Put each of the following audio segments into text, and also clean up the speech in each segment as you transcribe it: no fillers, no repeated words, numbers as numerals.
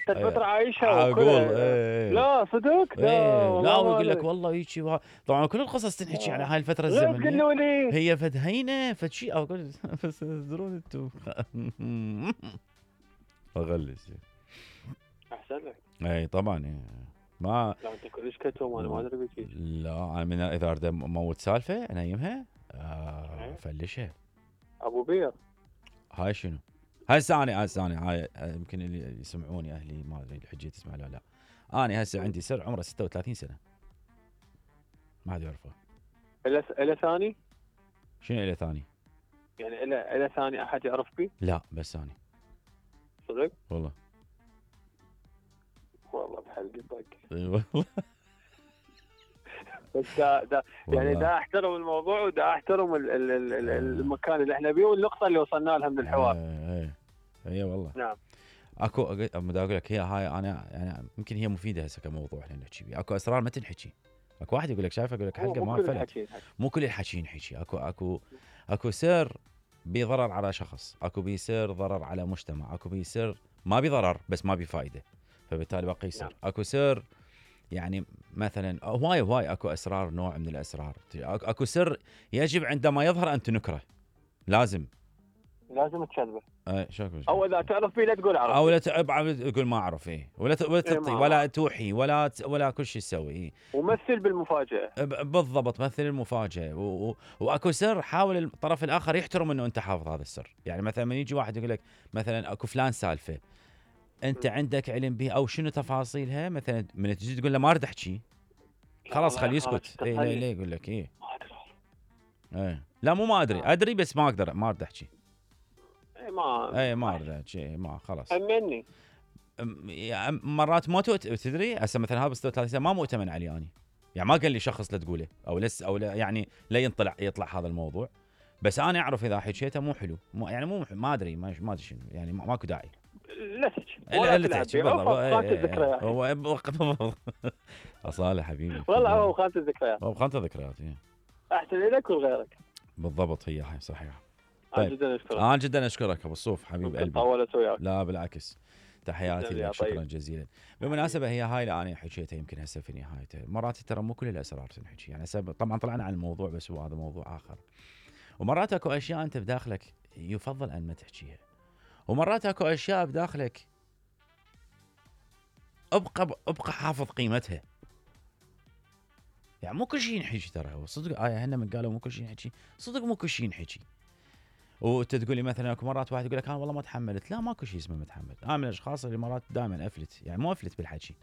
انت الفتره عايشها اقول لا صدق لا ويقول لك والله هيك طبعا كل القصص تنحكي على هاي الفتره الزمنيه. قولوا لي هي فد هينه فد شيء اقول بس تدرون انتم اغلس احسن لك. اي طبعا ما لا انت كلش كتوم انا ما ادري بك. لا انا من اذا اريد اموت سالفه انيمها فلشها ابو بير. هاي شنو؟ هسه انا هاي يمكن اللي يسمعوني اهلي ما ادري الحجيه تسمع لا لا. انا هسه عندي سر عمره 36 سنه ما حد يعرفه. الى ثاني؟ شنو الى ثاني؟ يعني الى ثاني احد يعرف بي؟ لا بس انا. صدق؟ والله بحلقتك. اي والله. بس دا يعني دا احترم الموضوع ودا احترم المكان اللي احنا بيه والنقطه اللي وصلنا لها من الحوار. اي والله. نعم. اكو بدي اقول لك هي هاي انا يعني يمكن هي مفيده هسه كموضوع احنا نحكي بيه. اكو اسرار ما تنحكي. اكو واحد يقول لك شايف اقول لك حلقه ما فلت. مو كل الحكي ينحكي. اكو سر بضرر على شخص، اكو بيصير ضرر على مجتمع، اكو بيصير ما بضرر بس ما بفائده فبالتالي باقي يصير. اكو سر يعني مثلا هواي اكو اسرار نوع من الاسرار. اكو سر يجب عندما يظهر ان تنكره. لازم تكذبه. شو او اذا تعرف فيه لا تقول اعرف او لا تقول ما اعرف ولا تعطي ولا توحي ولا كل شيء تسوي ومثل بالمفاجاه. بالضبط مثل المفاجاه واكو سر حاول الطرف الاخر يحترم انه انت حافظ هذا السر. يعني مثلا من يجي واحد يقول لك مثلا اكو فلان سالفه انت عندك علم بها او شنو تفاصيلها مثلا من تجي تقول له ما اريد احكي خلاص خليه يسكت. ليه يقول لك لا مو ما ادري بس ما اقدر ما اريد احكي. ما اريد احكي ما خلاص. امني مرات ما تدري هسه مثلا هذا 36 سنه ما مؤتمن علي اني. يعني ما قال لي شخص لا تقوله او لا يعني لا يطلع هذا الموضوع. بس انا اعرف اذا حكيته مو حلو يعني مو ما ادري ما ادري شنو يعني ماكو داعي. لا تحكي بالضبط. اصاله حبيبي والله هو خانة الذكريات. احسن لك ولغيرك. بالضبط هي هاي صحيحه. طيب. جدا اشكرك ابو الصوف حبيب قلبي. لا بالعكس تحياتي لك. شكرا جزيلا. بالمناسبه هي هاي اللي انا حكيتها يمكن هسه في نهايته. مرات ترى مو كل الاسرار تنحكي. يعني طبعا طلعنا عن الموضوع بس هو هذا موضوع اخر. ومرات اكو اشياء انت بداخلك يفضل ان ما تحكيها. ومرات اكو اشياء بداخلك ابقى حافظ قيمتها. يعني مو كل شيء ينحكي ترى صدق. هن من قالوا مو كل شيء ينحكي صدق مو كل شيء ينحكي. وانت تقول لي مثلا اكو مرات واحد يقول لك انا والله ما تحملت. لا ماكو شيء اسمه متحمل. انا من الاشخاص اللي مرات دائما افلت. يعني مو افلت بالحكي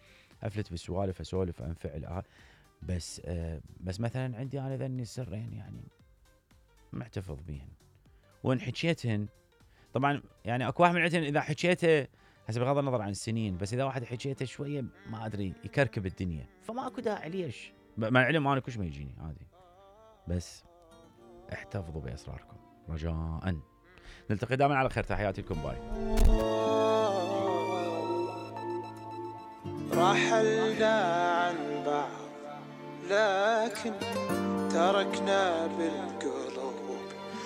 افلت بالسوالف اسولف انفعل بس مثلا عندي انا ذني سرين يعني محتفظ بيهن وان حكيتهن. طبعا يعني اكو واحد من عندهن اذا حكيته هسه بغض النظر عن السنين بس اذا واحد حكيته شويه ما ادري يكركب الدنيا فما اكو داعي ليش. مع العلم انا كلش ما يجيني عادي. بس احتفظوا باسراركم رجاء. نلتقي دائما على خير. تحياتي لكم باي. رحلنا عن بعض لكن تركنا